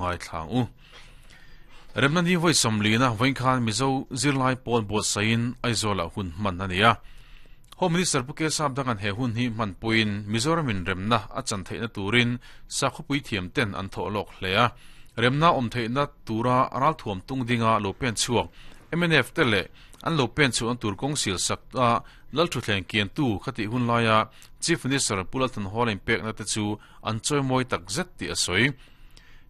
ngaithla ang u. Remna ni vawi sawmlina vawiin khan Mizo zirlai pawl buatsaihin Aizawlah hun hman a ni a. Home Minister Pu Kesap Dangan he hun hi hmanpuiin Mizoramin remna a chan theihna turin sakhawpui thiam ten an thawh lawk hle a. Remna awm theihna tura ralthuam tung dinga lo pen chhuak mnf te leh an lo pen chhuahna tur kawng sil sak a Lalthuthleng kiantu khatih hun laia Chief Minister Pu Lalthanhawla inpekna te chu an chawimawi tak zet tih a sawi.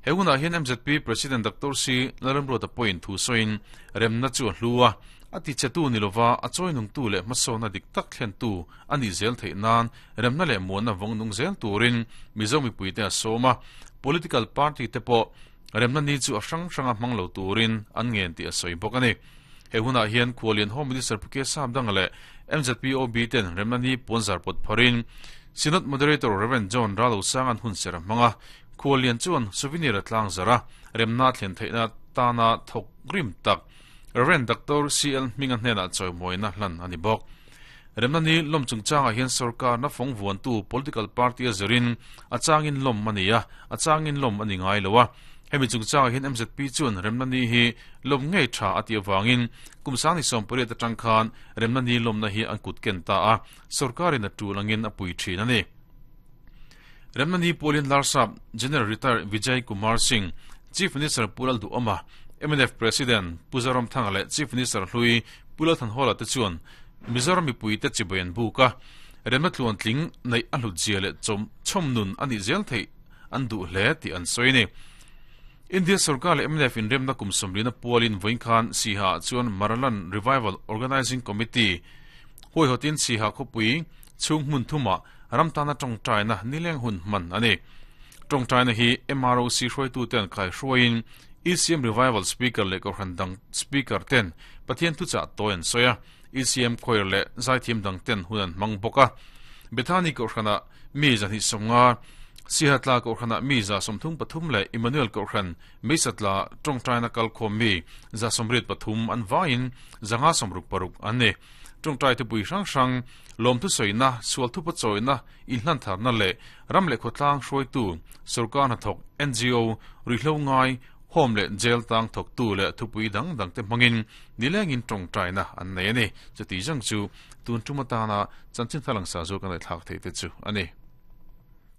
He hunah hian mzp President Doctor C Lalramruata pawhin thu sawiin remna chu a hlu a, a tichetu ni lova a chawinungtu leh hmasawnna dik tak thlentu a nih zel theih nan remna leh muanna vawng nung zel turin Mizo mipuite a sawm a, political party te pawh remna ni chu a hrang hranga hmang lo turin an ngen tih a sawi bawk a ni. He hunah hian Khualian Home Minister Pu K Sapdanga leh mzp OB ten remna ni puanzar pawt pharin Synod Moderator Rev John Ralosang-a'n hun ser a hmang a, Khualian chuan souvenir a tlang zar a, remna a thlen theihna tana thawk rim tak Rev Doctor CL Hminga hnenah chawimawina hlan a ni bawk. Remna ni lawm chungchangah hian sorkarna fawng vuantu political party a zirin a changin lawm a ni a, a changin lawm a ni ngai lo a. Hemi chungchangah hian mzp chuan remna ni hi lawm ngei tha a tih avangin kum sangni 18 atang khan remna ni lawmna hi an kut ken ta a, sorkarin a tul angin a pui thin a ni. Remna ni pualin Larsap General Retired Vijay Kumar Singh, Chief Minister Pu Lalduhawma, mnf President Pu Zoramthanga leh Chief Minister hlui Pu Lalthanhawla te chuan Mizoram mipuite chibai an buk a, remna tluantling neih a hlutzia leh chawmnun a nih zel theih an duh hle tih an sawi a ni. India sorkar leh mnf inremna kum sawmlina pualin vawiin khan Siha-ah chuan Maraland Revival Organising Committee huaihawtin Siha khawpui chhung hmun thumah ram tana tawngtaina nileng hun hman a ni. Tawngtaina hi MROC hruaituten kaihruaiin ECM Revival Speaker leh Kohhran dang Speaker ten Pathian thuchah tawi an sawi a, ECM Choir leh zaithiam dang ten hun an hmang bawk a. Bethany Kohhranah mi 250, Sihatla Kohhranah mi 33 leh Emmanuel Kohhran Meisatla tawngtaina kalkhawm mi 83 an vaiin 566 an ni. Tawngtai thupui hrang hrang, lawmthu sawina, sual thupa chawina, inhlantharna leh ram leh khawtlang hruaitu, sorkar hnathawk, ngo, ruihhlo ngai, home leh jail tang thawktu leh thupui dang dangte hmangin nilengin tawngtaina an nei a ni. Chuti zawng chu tun tum atana chanchin thar langsa zawk a ngaihthlak theih te chu a ni.